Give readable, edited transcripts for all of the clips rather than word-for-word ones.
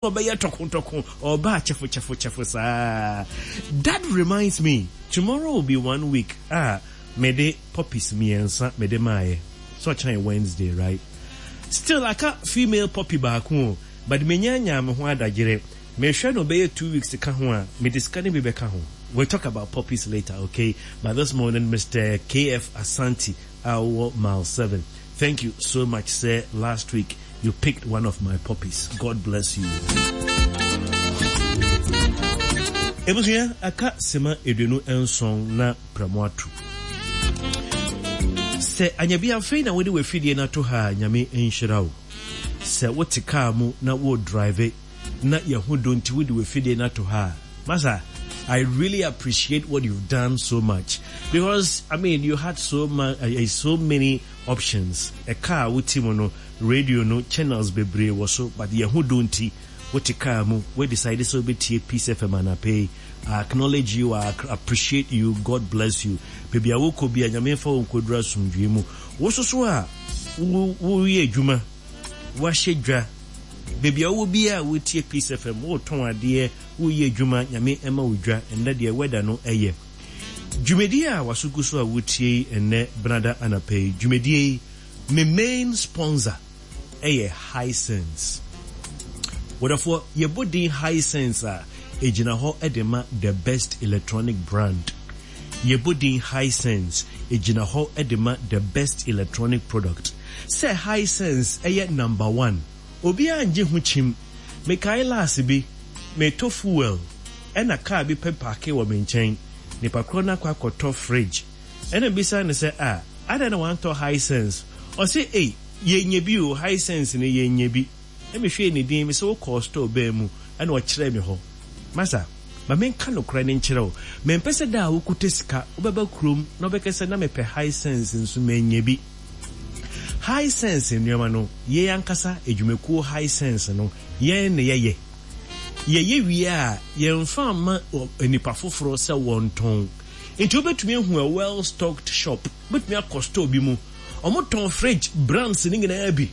Ɔbɛyɛ tɔko-tɔko, ɔba kyɛfo-kyɛfo-kyɛfo saa. That reminds me, tomorrow will be one week a mede puppies mmiɛnsa mede maayɛ. So ɔkyena yɛ Wednesday, right? Still aka female puppy baako o, but menyanyaa me ho adagyere. Mehwɛ no bɛyɛ 2 weeks ka ho a, mede sika no bi bɛka ho. We'll talk about puppies later, okay? But this morning, Mr. KF Asante, our mile 7. Thank you so much, sir. Last week, you picked one of my puppies. God bless you. Ebusua aka sema 27 na pramo atu. Sɛ anyabi afei na wode w'afidie no ato ha a, Nyame nhyira wo. Sɛ wote kaa mu na wo drive na yɛho do nti wode w'afidie no ato ha a, masa, I really appreciate what you've done so much because, I mean, you had so many options. Ɛka a wote mu no, radio no channels bebree wɔ so, but yɛho do nti wote kaa mu we decide sɛ wobɛtie Peace FM anapɛ yi. I acknowledge you, I appreciate you, God bless you. Baabi a wokɔ bi a, Nyame mfa wo nkɔduru asomdwee mu. Wo so so a woyɛ adwuma, wahyɛ dwa, baabi a wowɔ biara a wotie Peace FM, wotɔn adeɛ, woyɛ adwuma, Nyame ɛma wo dwa. Ɛnnɛ deɛ weather no ɛyɛ. Dwumadie a waso gu so a wotie yi ɛnnɛ Benada anapa yi, dwumadie yi, me main sponsor ɛyɛ Hisense. Wɔdɔfoɔ, yɛbɔ din Hisense a, ɛgyina hɔ de ma the best electronic brand. Yɛbɔ din Hisense, ɛgyina hɔ de ma the best electronic product. Sɛ Hisense ɛyɛ number one, obiara ngye ho kyim. Mekae last bi, metɔ fuel, ɛna car bi pɛ park wɔ me nkyɛn. Nipa korɔ no akɔ akɔtɔ fridge. Ɛna bisa no sɛ, "Ah, adɛn na wantɔ Hisense?" Ɔse, "Ei, yɛnyɛ bi o, Hisense no yɛnyɛ bi." Na mehwɛɛ ne din, mesɛ wokɔɔ store bɛn mu? Ɛna ɔkyerɛɛ me hɔ. Masa, ma menka nokorɛ no nkyerɛ wo. Mempɛ sɛ da a wokuta sika, wobɛba kurom na wobɛka sɛ na mepɛ Hisense nso manya bi. Hisense nneɛma no, yɛn ankasa adwumakuo Hisense no, yɛn na yɛyɛ. Yɛyɛ wie a, yɛmfa mma nipa foforɔ sɛ wɔntɔn. Nti wobɛtumi ahu a well-stocked shop. Wobɛtumi akɔ store bi mu. Wɔtɔn fridge brands ne nyinaa bi.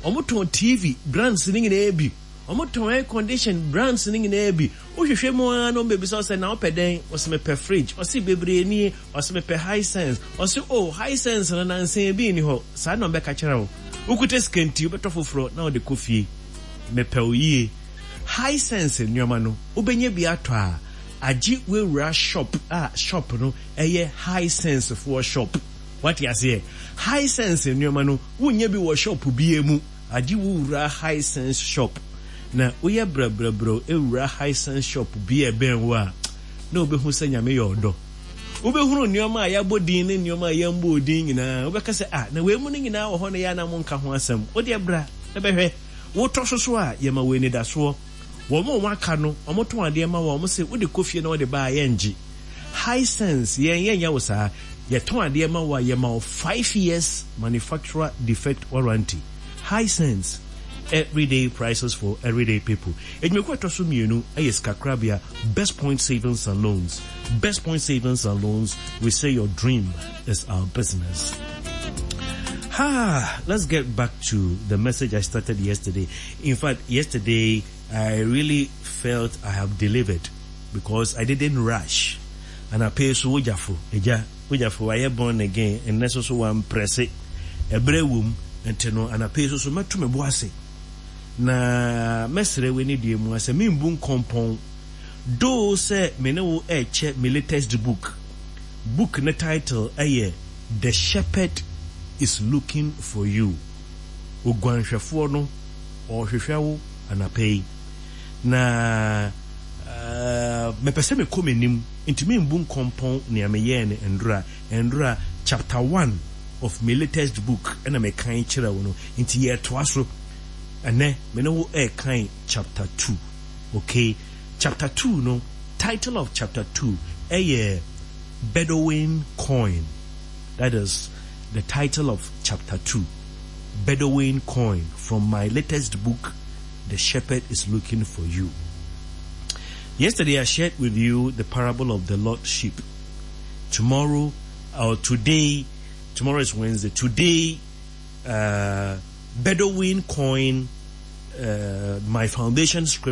Wɔtɔn TV brands ne nyinaa bi. Wɔtɔn air condition brands ne nyinaa bi. Wohwehwɛ mu ara na wɔbɛbisa wo sɛ na wopɛ dɛn? Ɔsɛ mepɛ fridge. Ɔse bebree nie. Ɔsɛ mepɛ Hisense. Ɔse oh, Hisense no nansa bi nni hɔ. Saa na ɔbɛka kyerɛ wo. Wokuta sika nti wobɛtɔ foforɔ na wode kɔ fie. Mepɛ wo yie. Hisense nneɛma no, wobɛnya bi atɔ a, agye wewura shop a shop no ɛyɛ Hisense foɔ shop. Wate aseɛ? Hisense nneɛma no, wonnya bi wɔ shop biara mu. Agye wowura Hisense shop. Na woyɛ brɛbrɛbrɛw ewura Hisense shop bi a ɛbɛn wo a, na wobɛhu sɛ Nyame yɛ ɔdɔ. Wobɛhunu nneɛma a yɛabɔ din ne nneɛma a yɛmbɔɔ din nyinaa. Wobɛka sɛ, "Ah, na wei mu no nyinaa wɔ hɔ na yɛ a na monka ho asɛm." Wo deɛ bra na bɛhwɛ. Wotɔ so so a, yɛma wo anidasoɔ. Wɔn a wɔaka no, wɔtɔn adeɛ ma wɔn, wɔse wode kɔ fie na wode ba a, yɛngye. Hisense, yɛn yɛnyɛ wo saa. Yɛtɔn adeɛ ma wo a, yɛma wo 5 years manufacturer defect warranty. Hisense, everyday prices for everyday people. Edwumakuo a ɛtɔ so mmienu yɛ sikakorabea Best Point Savings and Loans. Best Point Savings and Loans, we say your dream is our business. Ah, let's get back to the message I started yesterday. In fact, yesterday I really felt I have delivered because I didn't rush. And I pay so wogyafo, eja, wogyafo wayɛ born again, ɛnnɛ so so wamprɛse. Ɛberɛ wom, nti no anapɛ so so mɛto me bo ase. Na mɛsrɛ w'ani deɛ mu asɛ membu nkɔmpɔn. Though sɛ me ne wo ɛrekyɛ me latest book. Book ne title ɛyɛ "The Shepherd is Looking for You". Oguanhwɛfoɔ no ɔrehwehwɛ wo anapa yi. Na mepɛ sɛ mekɔ m'anim nti membu nkɔmpɔn nea meyɛɛ no ndora. Ndora chapter 1 of my latest book ɛna mekan kyerɛ wo no, nti yɛtoa so. Ɛnɛ me ne wo ɛrekan chapter 2. Okay, chapter 2 no, title of chapter 2 ɛyɛ "Bedouin Coin". That is the title of chapter 2. "Bedouin Coin", from my latest book, "The Shepherd is Looking for You". Yesterday I shared with you the parable of the lost sheep. Tomorrow, or today, tomorrow is Wednesday. Today, Bedouin Coin, my foundation script.